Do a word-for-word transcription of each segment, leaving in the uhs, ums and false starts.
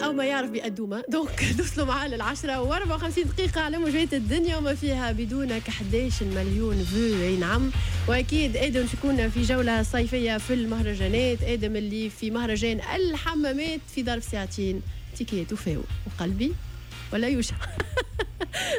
او ما يعرف بأدومة. donc نوصلوا معاه للعشرة وأربعة وخمسين دقيقة على موجات الدنيا وما فيها بدونك. أحد عشر مليون vues، اي نعم. واكيد ادم يكون في جولة صيفية في المهرجانات. ادم اللي في مهرجان الحمامات في ظرف ساعتين تيكيات وفاو وقلبي ولا يوجع.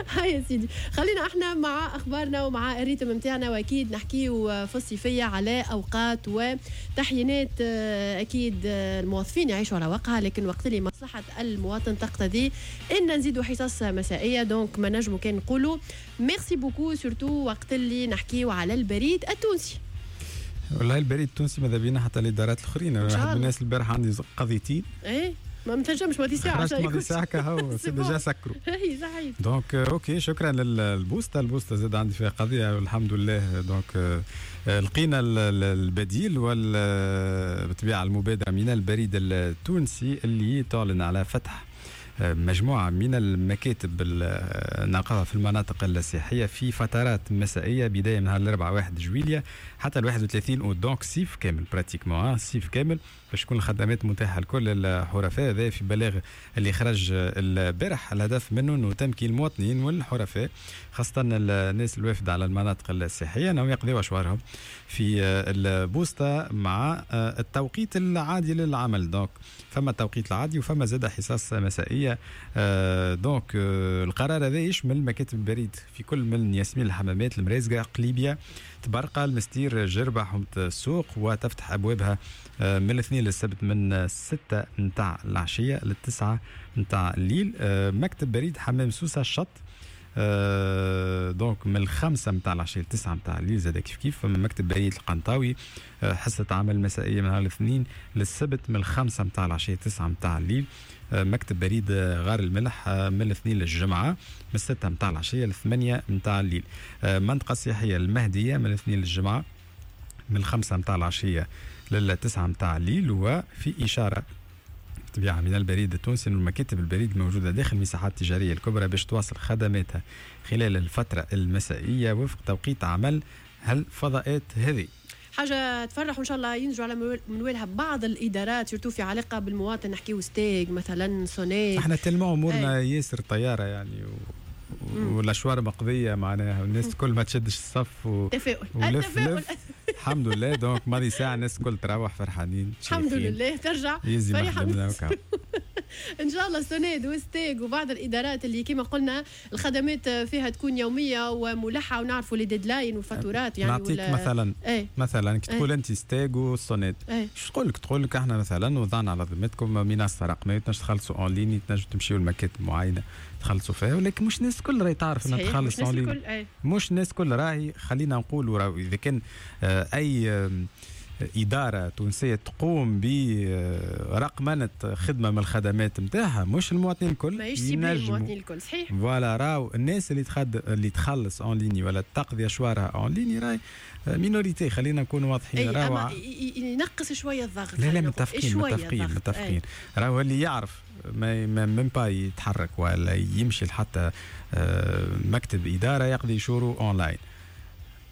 هاي يا سيدي، خلينا احنا مع اخبارنا ومع ال rythme نتاعنا، واكيد نحكيو في الصيفية على اوقات وتحيينات. آه، اكيد آه، الموظفين يعيشوا على وقعها، لكن وقت اللي مصلحة المواطن تقتضي ان نزيدوا حصص مسائيه، donc ما نجموا كان نقولوا merci beaucoup، surtout وقت اللي نحكيو على البريد التونسي. والله البريد التونسي ماذا بينا حتى الادارات الاخرين. انا واحد من الناس البارح عندي قضيتين. ايه، ما تنجمش ماضي ساعه. خرجت ماضي ساعة كهو، c'est déjà سكروا. اي صحيح. donc OK، شكرا للبوسطه. البوسطه زاد عندي فيها قضيه، والحمد لله donc لقينا البديل، وبالطبيعه المبادرة من البريد التونسي اللي تعلن على فتح مجموعة من المكاتب نلقاها في المناطق السياحية في فترات مسائية، بداية من نهار الأربعاء واحد جويليا حتى ال واحد وثلاثين أوت، donc صيف كامل pratiquement، صيف كامل باش تكون الخدمات متاحة لكل الحرفاء. هذا في بلاغ اللي خرج البارح، الهدف منه انه تمكين المواطنين والحرفاء، خاصة الناس الوافدة على المناطق السياحية، انهم يقضيوا اشوارهم في البوسطة مع التوقيت العادي للعمل. donc فما التوقيت العادي وفما زاد حصص مسائية. donc القرار هذا يشمل مكاتب البريد في كل من ياسمين، الحمامات، المريزقة، قليبيا، تبرقة، المستير، جربة، حومة السوق، وتفتح أبوابها من الاثنين للسبت من ستة نتاع العشية للتسعة نتاع الليل. مكتب بريد حمام سوسة الشط آه، donc من الخمسة متاع العشية لتسعة متاع الليل. زاد كيف كيف فما مكتب بريد القنطاوي، آه، حصة عمل مسائية من نهار الاثنين للسبت من الخمسة متاع العشية تسعة متاع الليل. آه، مكتب بريد غار الملح من الاثنين للجمعة من الستة متاع العشية للثمانية متاع الليل. منطقة سياحية المهدية من الاثنين للجمعة من الخمسة متاع العشية للتسعة متاع الليل. وفي إشارة طبيعة من البريد التونسي أن المكاتب البريد الموجودة داخل المساحات التجارية الكبرى باش تواصل خدماتها خلال الفترة المسائية وفق توقيت عمل هالفضاءات هذه. حاجة تفرح، وان شاء الله ينجوا على منوالها بعض الادارات، surtout في علاقة بالمواطن، نحكيو ستاغ مثلا، صوناد. احنا tellement امورنا ياسر طيارة يعني و... والاشوار مقضية معناها، والناس الكل ما تشدش الصف و... تفاؤل. ولف لف، الحمد لله. donc ماضي ساعة الناس الكل تروح فرحانين. الحمد لله، ترجع. فرحان ان شاء الله. سوناد وستاغ وبعض الادارات اللي كما قلنا الخدمات فيها تكون يومية وملحه، ونعرفوا les deadlines والفاتورات يعني. نعطيك ولا مثلا ايه؟ مثلا كي تقول انت ستاغ والسوناد، ايه؟ شو تقول لك؟ تقول لك احنا مثلا وضعنا على ذمتكم منصة رقميه، تنجم تخلصوا en ligne، تنجم تمشيوا لمكاتب معينة تخلصوا فيها، ولكن مش الناس الكل راهي تعرف انها تخلص en ligne. مش الناس الكل راهي، خلينا نقولوا راهي اذا كان آه، اي إدارة تونسية تقوم برقمنة خدمة من الخدمات نتاعها، مش المواطنين الكل. ماهيش المواطنين الكل، صحيح. voilà، راهو الناس اللي تخد اللي تخلص en ligne ولا تقضي اشوارها en ligne راهي minorité، خلينا نكون واضحين. راهو ينقص شوية الضغط. لا لا، متفقين متفقين متفقين. راهو اللي يعرف ما même pas يتحرك ولا يمشي لحتى آه، مكتب ادارة يقضي شورو اونلاين،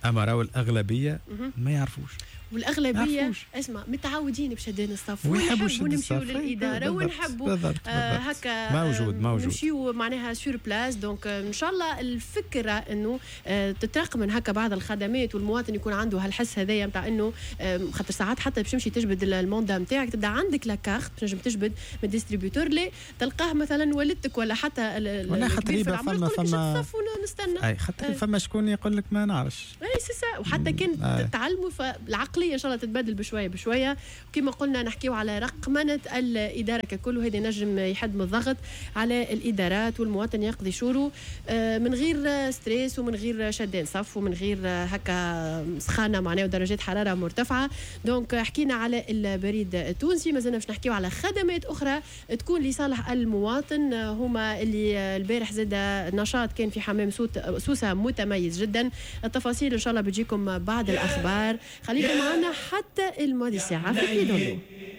اما راهو الاغلبية ما يعرفوش. والاغلبيه يعرفوش. اسمع، متعودين بشدان الصف. ويحبوا ونحبوا شد نمشيو الصف. للادارة بالضبط، ونحبوا بالضبط، آه بالضبط. هكا موجود، آه، موجود. نمشيو معناها sur place. donc آه، ان شاء الله الفكرة انه آه تترقمن هكا بعض الخدمات والمواطن يكون عنده هالحس هذايا نتاع انه آه، خاطر ساعات حتى باش تمشي تجبد ال mandat نتاعك، تبدا عندك la carte تنجم تجبد من distributeur، لا تلقاه مثلا والدتك ولا حتى ال- ال- ولا خاطر الكبير في يبقى العمر فما يقول لك شد فما الصف ونستنى. اي، خاطر أي. فما شكون يقول لك ما نعرفش. اي c'est ça، وحتى كان أي. تعلموا، فالعقليه ان شاء الله تتبدل بشوية بشويه. وكما قلنا نحكيو على رقمنه الادارة ككل، وهذا نجم يحد من الضغط على الادارات، والمواطن يقضي شورو آه، من غير stress ومن غير شدان صف ومن غير هكا سخانه معناها ودرجات حرارة مرتفعه. donc حكينا على البريد التونسي، مازلنا باش نحكيو على خدمات اخرى تكون لصالح المواطن. هما اللي البارح زاد نشاط كان في حمام سوت- سوسة متميز جدا. التفاصيل ان شاء الله بتجيكم بعد الاخبار. خليكم معنا حتى الماضي ساعة في pied dans l'eau.